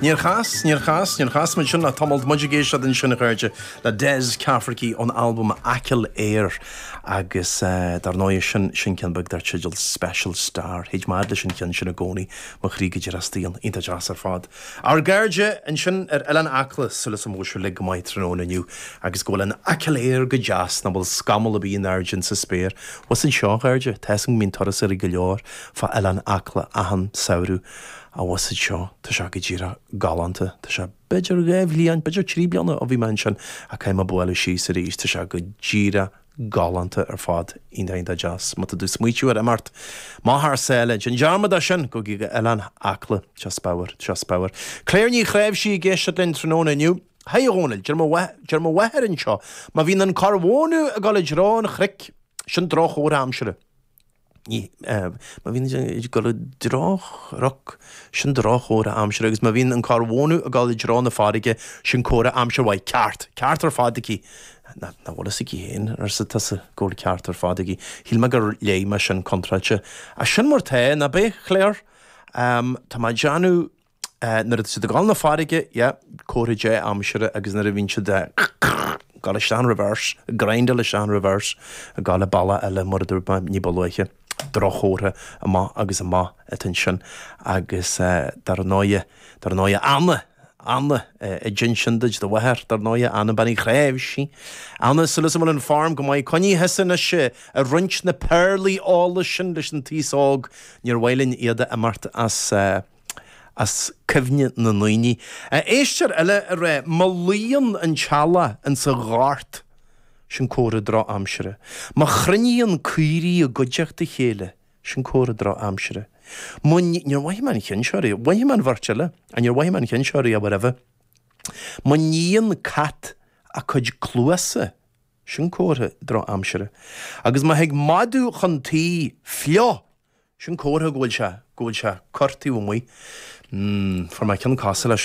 Níor chas, níor chas, níor chas muid sin le tamall. Muid ag éisteacht ansin, a chairde, le Des Cafferkey ón albam Achill Air agus dar ndóigh sin, sin ceann beag dar teideal Special Star. Théid mé fhad leis an cheann sin i gcónaí, mo chroí go díreach staon. Iontach deas ar fad. Ár gcairde ansin ar Oileán Acla, súil agam go bhfuil sibh uilig go maith tráthnóna inniu agus go bhfuil an Achill Air go deas, nach bhfuil scamall ar bith in airde insa spéir. Bhfuil fhios agat seo, a chairde, tá fhios agam go mbíonn turasóirí go leor fá Oileán Acla achan samhradh. Ach bhfuil fhios agat seo, tá sé go díreach galánta. Tá sé b'fhéidir 2 bhliain, b'fhéidir 3 bliana ó bhí mé ansin ach caithfidh mé bualadh síos arís. Tá sé go díreach galánta ar fad. Iontach, iontach deas. Má tá tú ag smaoitiú ar imeacht amach thar sáile, déan dearmad de sin, gabh go Oileán Acla. Tá sé spiormhar, tá sé spiormhar. Claire Ní Chnáimhsí ag éisteacht linn tráthnóna inniu. Haigh a Dhónaill, deir mo deir mo mháthair anseo, má bhíonn an corr mhónadh ag dul i dtreo an chnoic, sin droch-chomhartha aimsire. Ní, má bhíonn ag dul i dtreo chnoc, sin droch-chomhartha aimsire, agus má bhíonn an corr mhónadh ag dul i dtreo na farraige, sin comhartha aimsir mhaith. Ceart! Ceart ar fad aici! Nach bhfuil fhios aici féin, arsa tusa, go bhfuil ceart ar fad aici. Shíl mé gur léigh mé sin contráilte. Ach sin mar tá, ná b'é, Claire? Tá mé ag déanamh. Nuair atá siad ag dul na farraige, yeah, comhartha dea-aimsire agus nuair a bhíonn siad ag dul isteach in reverse, ag grindáil isteach in reverse, ag dul an bealach eile mar a dúirt mé ní ba luaithe, droch-chomhartha amach agus amach atá ansin agus dar ndóighe, dar ndóighe Anna, Anna a d'inis sin duit, do mháthair, dar ndóighe, Anna Bean Uí Chnáimhsí. Anna, súil agam go bhfuil an form go maith, coinnigh thusa anois ag roinnt na péarlaí eolais sin leis an taos óg, níor mhaith linn iad a imeacht as. as cuimhne na ndaoine. Éisteoir eile ag rá, má luíonn an t-eallach insa ghort, sin comhartha drochaimsire. Má chruinníonn caoirigh i gcuideachta a chéile, sin comhartha drochaimsire. Má, níor mhothaigh mé an cheann seo riamh, mhothaigh mé an bheirt eile, ach níor mhothaigh mé an cheann seo riamh roimhe. Má níonn cat a cuid cluasa, sin comhartha drochaimsire. Agus má thig madadh chun tí fliuch, Sin comhartha go bhfuil sé, go bhfuil sé corr taobh amuigh. Mm, fuair mé ceann cosúil leis sin.